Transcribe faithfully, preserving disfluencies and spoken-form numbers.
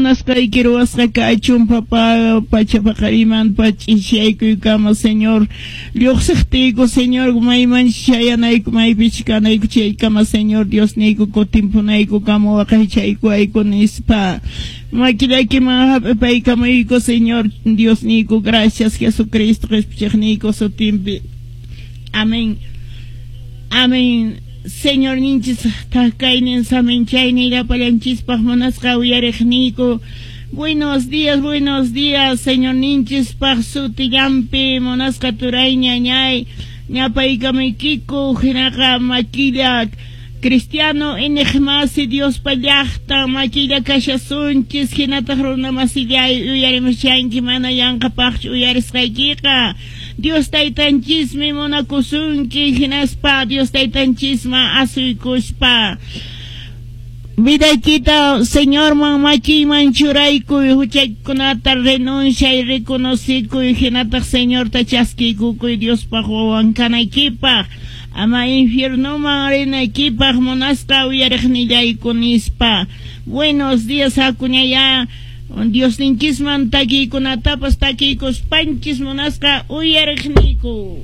Munasqayki ruwasqa kachun, papá, pacha paqarimanpa ch'isiyaykuykama, Señor. Lluqsiqtiyku, Señor, mayman chayanayku, maypichus kanayku chaykama, Señor Diosniyku, kutimpunaykukama waqaychaykuwayku nispa. Makillaykiman hap'ipaykamuyku, Señor Diosniyku, gracias Jesucristo qhispichiqniyku sutinpi. Amén. Amén. Señorninchis thak-kaynin saminchaynin llapallanchispaq munasqa uyariqniyku. Buenos días, buenos días, Señorninchispaq sutillanpi munasqa turay ñañay ñapaykamaykiku hinaqa makilla cristiano iñiqmasi Diospa llaqtan makilla kashasunchis hinataq runamasillay uyarimushanki mana yanqapaqchu uyarisqaykiqa Dios taytanchismi munakusunki hinaspa Dios taytanchisman asuykuspa vidaykita Señorman makiyman churaykuy huchaykunata renunciay reconocikuy hinataq Señorta chaskiykukuy Diospaq wawan kanaykipaq ama infiernoman rinaykipaq munasqa uyariqnillayku nispa. Buenos días hakuñayá Diosninchisman takiykunatapas takiykuspanchis munasqa uyariqniyku.